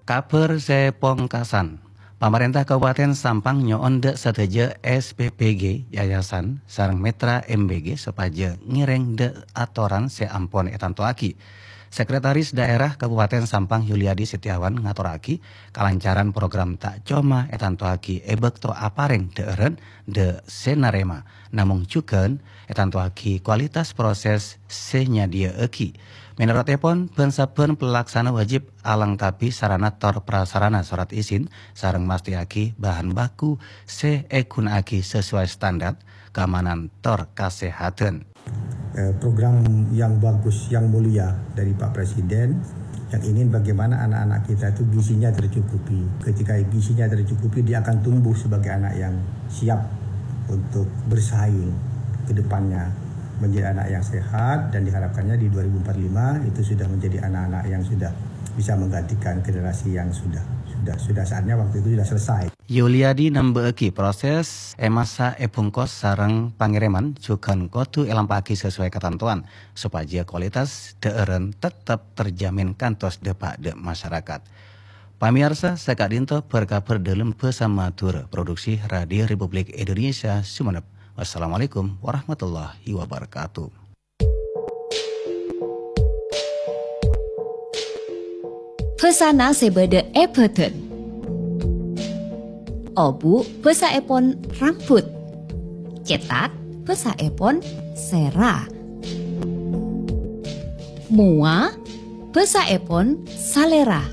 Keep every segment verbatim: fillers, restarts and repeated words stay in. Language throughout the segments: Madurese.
Kabhâr sè pongkasan. Pamarènta Kabupaten Sampang nyo'on dhâ' sadhâjâ S P P G, yayasan, sareng mitra M B G sopajâ ngèrèng dhâ' atoran sè ampon ètantowaghi. Sekretaris Daerah Kabupaten Sampang Yuliadi Setiawan ngatorraghi, kalancaran program ta' coma ètantowaghi è bâkto aparèng dhâ'ârân dhâ' sè narèma, namong jhughân ètantowaghi kualitas proses sè nyadhiyâ'aghi. Mènorotèpon, bân-sabbân palaksana wajib alengkapi sarana tor prasarana sorat izin sareng mastèyaghi bahan baku sè èghuna'aghi sesuai standar kaamanan tor kasèhadhân. Eh, program yang bagus, yang mulia dari Pak Presiden, yang ingin bagaimana anak-anak kita itu gizinya tercukupi. Ketika gizinya tercukupi, dia akan tumbuh sebagai anak yang siap untuk bersaing ke depannya, menjadi anak yang sehat, dan diharapkannya di dua ribu empat puluh lima itu sudah menjadi anak-anak yang sudah bisa menggantikan generasi yang sudah sudah sudah saatnya waktu itu sudah selesai. Yuliadi namba'aghi, proses è masa è bungkos sareng pangèrèman jhughân kodhu èlampa'aghi sasowai katantowan, sopajâ kualitas dhâ'ârân tettep terjamin kantos dâpa' dhâ' masyarakat. Pamèyarsa, saka'dinto bhâr-kabhâr dhâlem bhâsa Madhurâ, produksi Radio Republik Indonesia Sumenep. Wassalamualaikum warahmatullahi wabarakatuh. Bhâsana sè bâdâ è bhâdhân. Obu' bhâsaèpon rambut. Cètak bhâsaèpon sèra. Mowa bhâsaèpon salèra.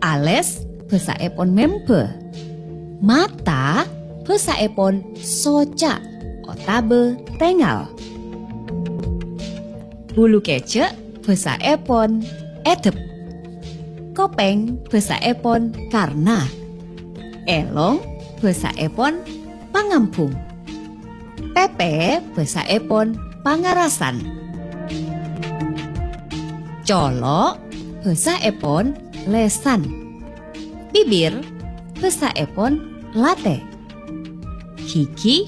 Alès bhâsaèpon mèmbâ. Mata bhâsaèpon soca' otabâ tèngal. Bulu kèjhâ' bhâsaèpon èdhep. Kopèng bhâsaèpon karna. Èlong bhâsaèpon pangambhung. Pèpè bhâsaèpon pangarasan. Colo' bhâsaèpon lèsan. Bibir bhâsaèpon latè. Ghighi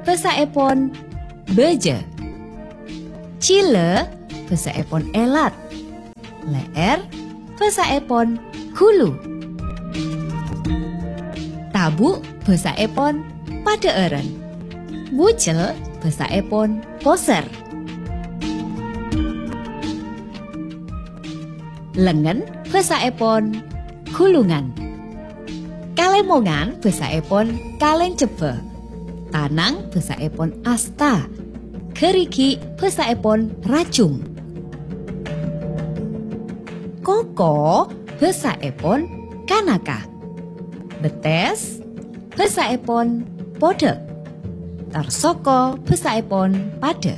bhâsaèpon bâjâ. Jhilâ bhâsaèpon èlat. Lè'èr bhâsaèpon ghulu. Tabu' bhâsaèpon padhâ'ârân. Bujel bhâsaèpon posèr. Lengngen bhâsaèpon ghulungan. Kalèmongan bhâsaèpon kalèncebbhâ. Tanang bhâsaèpon asta. Ghârighi' bhâsaèpon rajung. Koko bhâsaèpon kanaka. Bettès bhâsaèpon podhâk. Tor soko bhâsaèpon padhâ.